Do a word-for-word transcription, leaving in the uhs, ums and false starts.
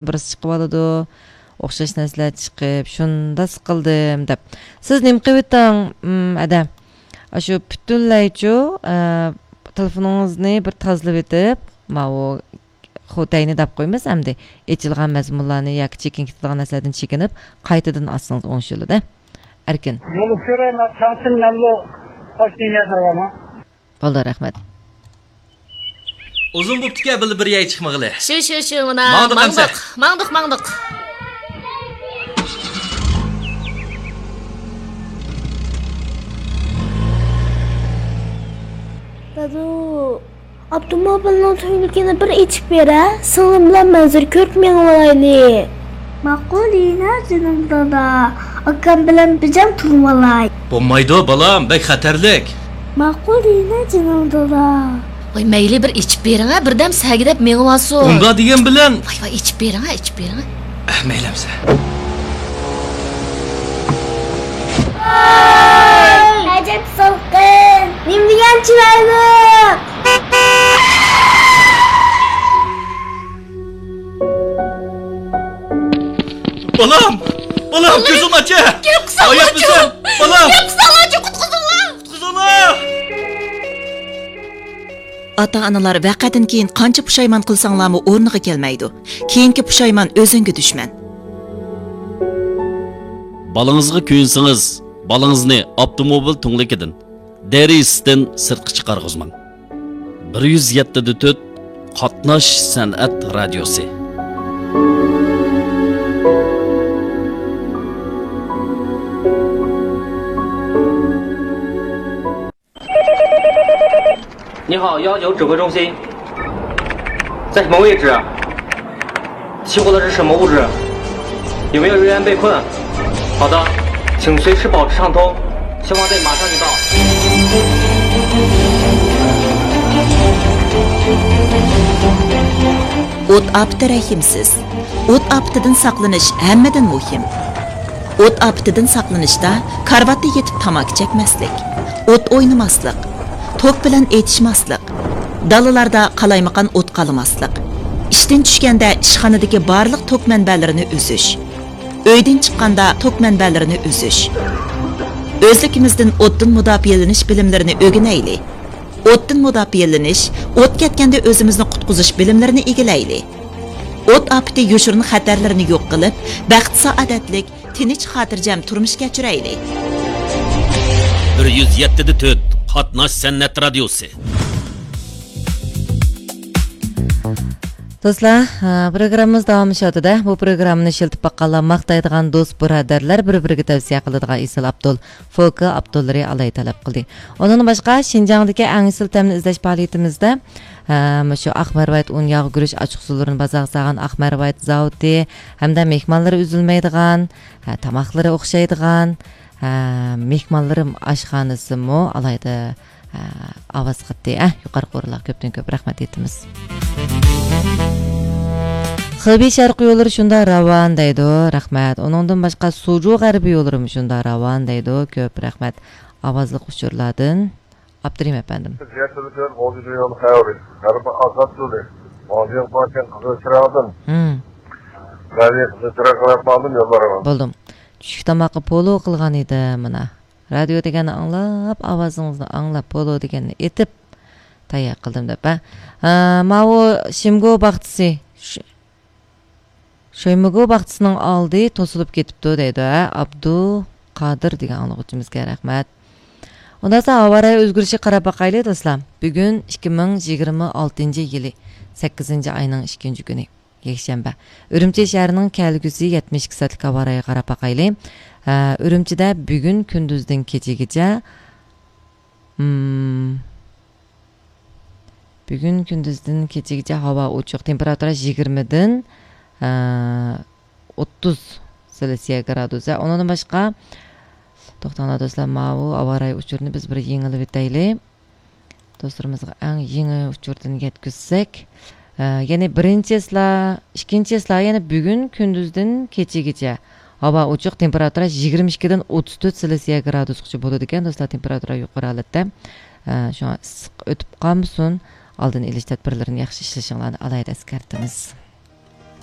بىرسى چىقىۋالىدۇ، ئوخشاش نەرسىلەر چىقىپ، شۇنداق قىلدىم دەپ. سىز نېمە قىلىۋېتىڭ، ئم، ئەدە؟ ئاشۇ پۈتۈنلەيچۇ، ئە، تېلېفونىڭىزنى بىر تازىلىۋېتىپ، ماۋۇ خوتەينى دەپ قويىمىز ئەمدى. ئېچىلغان مەزمۇنلارنى ياكى چېكىن كېتىدىغان نەرسىلەردىن چېكىنىپ، قايتىدىن ئاچسىڭىز ئوڭشىلىدۇ. ئەركىن. يولۇپ كۆرەي، مەن چاڭسىن، مەنمۇ قوشنىڭ يەردە بارمەن. بولدى، رەھمەت. ئۇزۇن بوپتىكەن بىللە بىر يەرگە چىقمىغىلى. شۇ، شۇ، شۇ، مانا، ماڭدۇق ئەمسە. ماڭدۇق، ماڭدۇق، ماڭدۇق. دادۇ، ئاپتوموبىلنىڭ تۈڭلۈكىنى بىر ئېچىپ بېرە، سىڭلىم بىلەن مەنزىرە كۆرۈپ مېڭىۋالايلى. ماقۇل يېنە جېنىم دادا، ئاكام بىلەن بىجام تۇرۇۋالاي. بولمايدۇ بالام، بەك خەتەرلىك. ماقۇل يېنە جېنىم دادا. ۋاي مەيلى، بىر ئېچىپ بېرىڭە، بىردەم سەگىدەپ مېڭىۋالسۇن. ئۇنداق دېگەن بىلەن. ۋاي ۋاي، ئېچىپ بېرىڭە، ئېچىپ بېرىڭە. ئەھ، مەيلى ئەمسە. ئەجەب سالقىن، نېمە دېگەن چىرايلىق. بالام! بالام، كۆزۈڭنى ئاچە! گەپ قىلساڭلارچۇ! ھايات بىزەن! بالام! گەپ قىلساڭلارچۇ، قۇتقۇزۇڭلار! قۇتقۇزۇڭلار! ئاتا-ئانىلار ۋەقەدىن كېيىن قانچە پۇشايمان قىلساڭلارمۇ ئورنىغا كەلمەيدۇ. كېيىنكى پۇشايمان ئۆزۈڭگە دۈشمەن. بالىڭىزغا كۆيۈنسىڭىز، بالىڭىزنى ئاپتوموبىل تۈڭلۈكىدىن، دېرىزىسىدىن سىرتقا چىقارغۇزماڭ. بىر يۈز يەتتە دە تۆت قاتناش سەنئەت رادىيوسى. 你好，幺九指挥中心，在什么位置？起火的是什么物质？有没有人员被困？好的，请随时保持畅通，消防队马上就到。 ئوت ئاپىتى رەھىمسىز. ئوت ئاپىتىدىن ساقلىنىش ھەممىدىن مۇھىم. ئوت ئاپىتىدىن ساقلىنىشتا كارىۋاتتا يېتىپ تاماكا چەكمەسلىك، ئوت ئوينىماسلىق، توك بىلەن ئېتىشماسلىق، دالىلاردا قالايمىقان ئوت قالىماسلىق، ئىشتىن چۈشكەندە ئىشخانىدىكى بارلىق توك مەنبەلىرىنى ئۈزۈش، ئۆيدىن چىققاندا توك مەنبەلىرىنى ئۈزۈش. ئۆزلۈكىمىزدىن ئوتتىن مۇداپىئەلىنىش بىلىملىرىنى ئۆگىنەيلى. ئوتتىن مۇداپىئەلىنىش، ئوت كەتكەندە ئۆزىمىزنى قۇتقۇزۇش بىلىملىرىنى ئىگىلەيلى. ئوت ئاپىتى يوشۇرۇن خەتەرلىرىنى يوق قىلىپ، بەخت سائادەتلىك، تىنچ، خاتىرجەم تۇرمۇش كەچۈرەيلى. بىر يۈز يەتتە دە تۆت قاتناش سەنئەت رادىيوسى. دوستلار، ھە، پروگراممىمىز داۋاملىشىۋاتىدۇ. بۇ پروگراممىنى ئىشلىتىپ باققانلار، ماختايدىغان دوست بۇرادەرلەر، بىر-بىرىگە تەۋسىيە قىلىدىغان ئېسىل ئاپتول، فولكا ئاپتوللىرى ئالاھىدە تەلەپ قىلدى. ئۇنىڭدىن باشقا، شىنجاڭدىكى ئەڭ ئېسىل تەمنى ئىزدەش پائالىيىتىمىزدە، ھە، مۇشۇ ئاق مەرۋايىت ئۇن ياغ گۈرۈچ ئاچچىقسۇلىرىنى بازارغا سالغان ئاق مەرۋايىت زاۋۇتى ھەمدە مېھمانلىرى ئۈزۈلمەيدىغان، ھە، تاماقلىرى ئوخشايدىغان، ھە، مېھمانلىرىم ئاشخانىسىمۇ ئالاھىدە ھە، ئاۋاز قاتتى، ئە، يۇقىرىقى ئورۇنلارغا كۆپتىن كۆپ رەھمەت ئېيتىمىز. خېبېي شەرقىي يوللىرى شۇنداق راۋان دەيدۇ، رەھمەت. ئۇنىڭدىن باشقا سۇجۇ غەربىي يوللىرىمۇ شۇنداق راۋان دەيدۇ، كۆپ رەھمەت. ئاۋازلىق ئۇچۇرلاردىن ئابدۇرېھىم ئەپەندىم. يول خەۋىرى، غەربىي ئازاد يولى، ماۋۇ يول باركەن قىزىل چىراغدىن. ھىم. مەن قىزىل چىراغ قىلىپ ماڭدىم يوللارغا. بولدۇم. چۈشلۈك تاماققا پولۇ قىلغان ئىدىم مانا. رادىيو دېگەننى ئاڭلاپ، ئاۋازىڭىزنى ئاڭلاپ، پولۇ دېگەننى ئېتىپ تەييار قىلدىم دەپ، ھە. ھە، ماۋۇ شىمگو باغچىسى، ش-، شۆيمىگو باغچىسىنىڭ ئالدى توسۇلۇپ كېتىپتۇ دەيدۇ، ھە، ئابدۇقادىر دېگەن ئاڭلىغۇچىمىزغا رەھمەت. ئۇنداق بولسا ھاۋا رايى ئۆزگىرىشىگە قاراپ باقايلى، دوستلار. بۈگۈن ئىككى مىڭ يىگىرمە ئالتىنچى يىلى، سەككىزىنچى ئاينىڭ ئىككىنچى كۈنى. يەكشەنبە. ئۈرۈمچى شەھىرىنىڭ كەلگۈسى يەتمىش ئىككى سائەتلىك ھاۋا رايىغا قاراپ باقايلى. ئە، ئۈرۈمچىدە بۈگۈن كۈندۈزدىن كېچىگىچە، مم، بۈگۈن كۈندۈزدىن كېچىگىچە ھاۋا ئوچۇق، تېمپېراتۇرا يىگىرمىدىن، ئە، ئوتتۇز سېلسىيە گرادۇس. ئۇنىڭدىن باشقا، توختاڭلار دوستلار، ماۋۇ ھاۋا رايى ئۇچۇرىنى بىز بىر يېڭىلىۋېتەيلى. دوستلىرىمىزغا ئەڭ يېڭى ئۇچۇردىن يەتكۈزسەك، ئە، يەنى بىرىنچى چىسلا، ئىككىنچى چىسلا، يەنى بۈگۈن كۈندۈزدىن كېچىگىچە ھاۋا ئوچۇق، تېمپېراتۇرا يىگىرمە ئىككىدىن ئوتتۇز تۆت سېلسىيە گرادۇسقىچە بولىدىكەن، دوستلار، تېمپېراتۇرا يۇقىرى ھالەتتە. ئە، شۇڭا ئىسسىق ئۆتۈپ قالمىسۇن، ئالدىنى ئېلىش تەدبىرلىرىنى ياخشى ئىشلىشىڭلارنى ئالاھىدە ئەسكەرتىمىز.